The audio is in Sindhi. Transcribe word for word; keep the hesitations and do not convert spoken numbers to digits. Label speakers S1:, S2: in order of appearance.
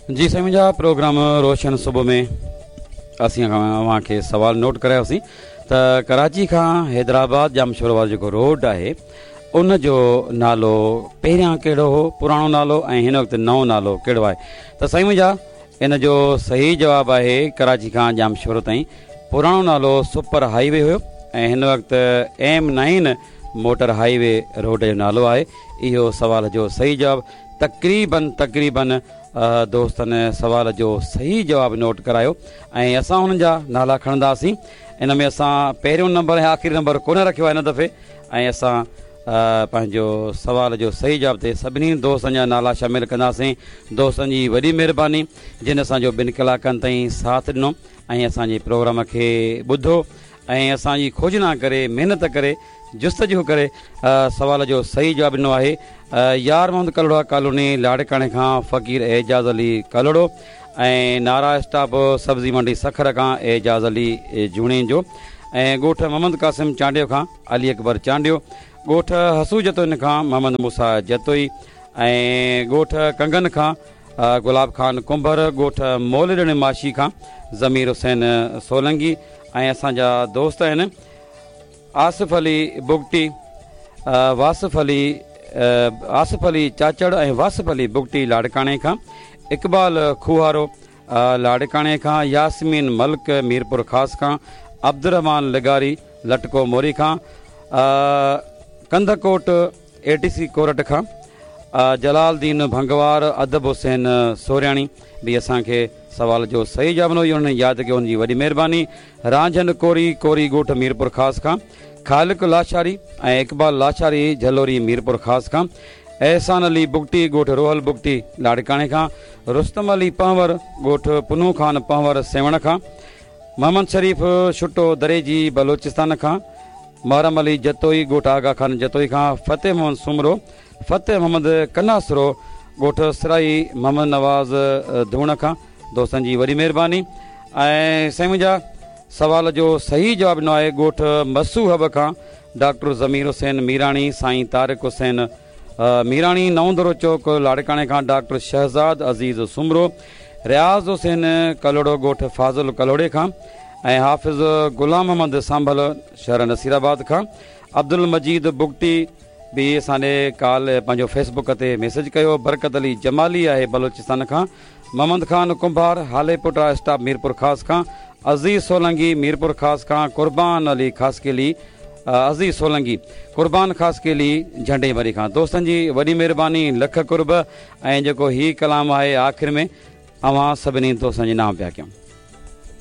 S1: جي سائين منهنجا پروگرام روشن صبح ۾ اسين اوهان کي سوال نوٽ ڪرايوسين ته ڪراچي کان حيدرآباد ڄامشورو وارو جيڪو روڊ آهي ان جو نالو پهريان ڪهڙو هو پراڻو نالو ۽ هن وقت نئون نالو ڪهڙو آهي ته سائين منهنجا ان جو صحيح جواب آهي ڪراچي کان ڄامشورو تائين پراڻو نالو سپر هائي وي هيو ۽ هن وقت M nine motor highway road جو نالو آهي اهو سوال جو صحيح جواب تقريبن تقريبن دوستن سوال جو صحيح جواب نوٽ ڪرايو ۽ اسان انهن جا نالا کڻنداسين ان ۾ اسان پهريون نمبر ۽ آخري نمبر ڪونه رکيو آهي هن دفعي ۽ اسان پنهنجو سوال جو صحيح جواب تي سڀني دوستن جا نالا شامل ڪنداسين دوستن جي وڏي مهرباني جن اسان جو ٻن ڪلاڪن تائين ساٿ ڏنو ۽ اسان جي پروگرام کي ٻڌو ۽ اسان جي کوجنا ڪري محنت ڪري جستجو ڪري سوال جو صحيح جواب ڏنو آهي يار محمد ڪلهوڙا ڪالوني لاڙڪاڻي کان فقير اعجاز علي ڪلهوڙو ۽ نارا اسٽاپ سبزي منڊي سکر کان اعجاز علي جوڻيجو ۽ ڳوٺ محمد قاسم چانڊيو کان علي اڪبر چانڊيو ڳوٺ حسو جتوئين کان محمد موسيٰ جتوئي ۽ ڳوٺ ڪنگن کان گلاب خان ڪنڀر ڳوٺ مولڏڻي ماشي کان ضمير حسين سولنگي ۽ اسان جا دوست آهن آصف علي بگٽي واصف علي آصف علي چاچڙ ۽ واصف علي بگٽي لاڙڪاڻي کان اقبال کوهارو لاڙڪاڻي کان ياسمين ملڪ ميرپور خاص کان عبدالرحمان لغاري لٽڪو موري کان ڪنڌڪوٽ اي ٽي سي ڪورٽ کان جلال دين ڀنگوار ادب حسين سورياڻي به اسان کي سوال جو صحيح جواب ڏنو انهن ياد ڪيو ان جي وڏي مهرباني رانجهن ڪوري ڪوري ڳوٺ ميرپور خاص کان خالق لاشاري ۽ اقبال لاشاري جهلوري ميرپور خاص کان احسان علي بگٽي ڳوٺ روهل بگٽي لاڙڪاڻي کان رستم علي پنهور ڳوٺ پنو خان پنهور سيوهڻ کان محمد شريف ڇٽو دريجي بلوچستان کان محرم علي جتوئي ڳوٺ آغا خان جتوئي کان فتح محمد سومرو فتح محمد ڪناسرو ڳوٺ سرائي محمد نواز ڌوڻ کان دوستن جي وڏي مهرباني ۽ سائين منهنجا سوال جو صحيح جواب ڏنو آهي ڳوٺ مسو حب کان ڊاڪٽر ضمير حسين ميراڻي سائين طارق حسين ميراڻي نئون درو چوڪ لاڙڪاڻي کان ڊاڪٽر شهزاد عزيز سومرو رياض حسين ڪلهوڙو ڳوٺ فاضل ڪلهوڙي کان ۽ حافظ غلام محمد سانڀل شهر نصيرآباد کان عبدل مجيد بگٽي به اسان ڏي ڪال پنهنجو فيسبڪ تي ميسيج ڪيو برڪت علي جمالي آهي بلوچستان کان محمد خان ڪنڀار هاليپوٽا اسٽاپ ميرپور خاص کان عزيز سولنگي ميرپور خاص کان قربان علي خاصخيلي عزيز سولنگي قربان خاصخيلي جهنڊي ڀري کان دوستن جي وڏي مهرباني لک قرب ۽ جيڪو هي ڪلام آهي آخر ۾ اوهان سڀني دوستن جي نام پيا ڪيون.